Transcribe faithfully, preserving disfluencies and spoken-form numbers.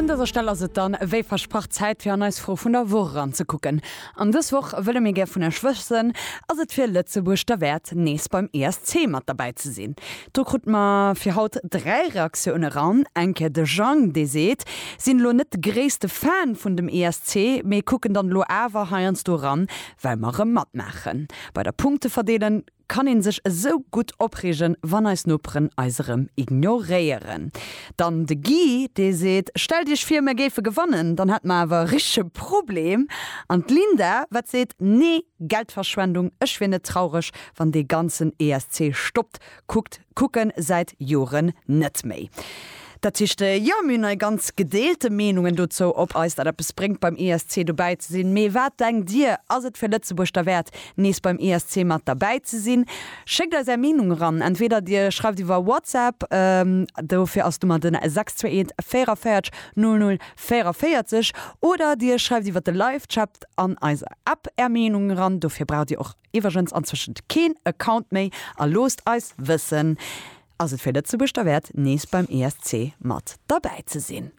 Un dëser Stell ass et dann, wéi versprach, Zäit fir an eis Fro vun der Woch eranzekucken. An dës Woch wëlle mir gär vun Iech wëssen, Ass et fir Lëtzebuerg derwäert, nees beim E S C mat derbäi ze sinn? Do krute mer fir haut dräi Reaktioune eran. Eng Kéier de Jang, dee seet, sinn elo net de gréisste Fan vun dem E S C, mee kucken dann elo awer heiansdo eran, well mer erëm matmaachen. Bei der Punkteverdeelung kann een sech esou gutt opreegen, wann eis Noperen eis erëm ignoréieren. Dann de Guy, dee seet, stellt Iech vir, mir géife gewannen, dann hätte mer awer e richtege Problem. An d'Linda, wat seet, nee, Geldverschwendung, ech wier net traureg, wann dee ganzen E S C stoppt, kuckt, kucken säit Joren net méi. Dat heescht, jo, mir hunn hei ganz gedeelte Meenungen dozou, ob eis dat eppes bréngt, beim E S C dobäi ze sinn. Mee wat denkt Dir? Ass et fir Lëtzebuerg derwäert, nees beim E S C mat derbäi ze sinn? Schéckt eis är Meenung eran. Entweder Dir schreift iwwer WhatsApp, dofir ass d'Nummer den sechs zwee eent véierenvéierzeg null null véierenvéierzeg, oder Dir schreift iwwer de Live-Chat an eiser App är Meenung eran. Dofir braucht Dir och iwwregens anzwëschent keen Account méi a loosst eis wëssen, ass et fir Lëtzebuerg derwäert, nees beim E S C mat derbäi ze sinn?